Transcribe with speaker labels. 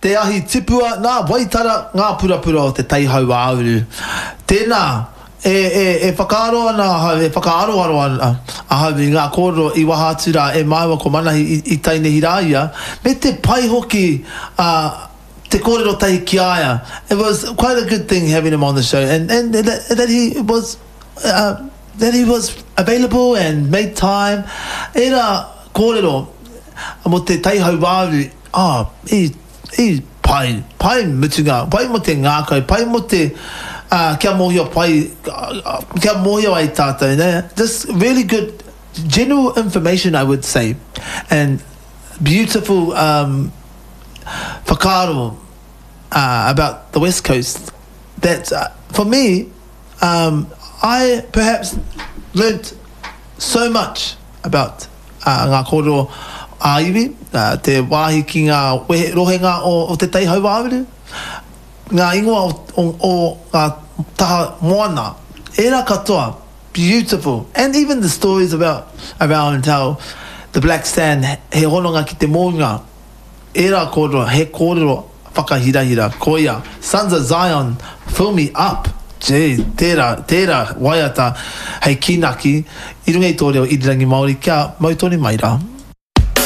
Speaker 1: Te Ahi Tipua, nā Waitara ngā purapura o te Tai Hauāuru. Tēnā, e, e, e whakaaro ana ahau, e whakaaroaro ana ahau i ngā kōrero i waha atu rā e māua ko Manahi i, i Tainihi rā ia, me te pai hoki a, te kōrero tahi ki a ia. It was quite a good thing having him on the show and, and that, that he was, uh, that he was available and made time. Ērā kōrero mō te Tai Hauāuru, Oh, i, i pai, pai mutunga, pai mo te ngākau, pai mo te, uh, kia mōhio pai, kia mōhio ai tātou, ne? Just really good general information I would say, and beautiful um, whakaaro uh, about the West Coast that uh, for me, um, I perhaps learnt so much about ngā kōrero ā-iwi, te wāhi ki ngā wehe, rohenga o Te Tai Hauāuru, ngā ingoa o, o ngā taha moana, ērā katoa, beautiful, and even the stories about, around how the black sand he hononga ki te mounga, Ērā kōrero, he kōrero whakahirahira. Koia, Sons of Zion, fill me up! Gee, tērā, tērā waiata hei kīnaki i runga i tō reo irirangi Māori kia mau tonu mai rā.